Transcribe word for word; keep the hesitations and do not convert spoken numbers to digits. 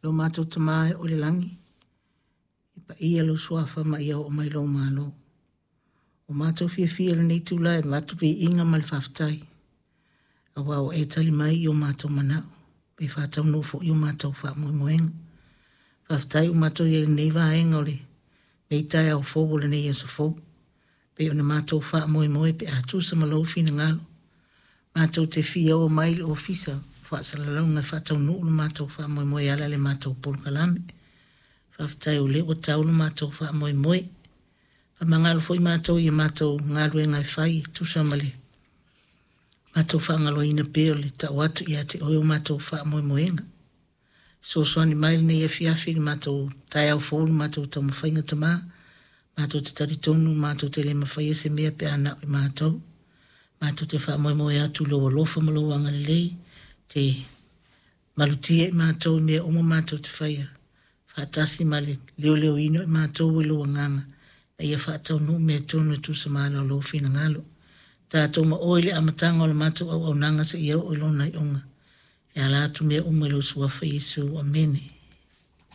Lo matou Tama e o i le lagi, e paia lou suafa ma ia oo mai lou malo. O matou fiafia i lenei itula e avatu viiga ma le faafetai, aua ua e tali mai i o matou manao, pe faataunuu foi o matou faamoemoega. Faafetai ua matou i ai i lenei vaega o lenei taeao fou o lenei aso fou, pei ona matou faamoemoe pe a tusa ma lou finagalo. Matou te fia o mai i le ofisa faasalalauga e faataunuu le matou faamoemoe e ala i le matou polokalame. Faafetai o lea ua tau le matou faamoemoe. Faamagalo foi matou i a matou galuega e fai e tusa ma le matou faagaloina pea o le tau atu ia te oe o matou faamoemoega. Fesoasoani mai lenei afiafi i le matou taeao fou le matou taumafaiga Tama. Matou te talitonu matou te le mafaia se mea pe a na o i matou. Matou te faamoemoe atu i lou alofa ma lou agalelei te malutia i matou i mea uma matou te faia. Faatasi ma le leoleoina o i matou e lou agaga ina ia faataunuu mea tonu e tusa ma ala o lou finagalo. Tatou ma oe i le amataga o le matou auaunaga seia oo i lona iuga. E ala atu mea uma i lou suafa Iesu. Amene.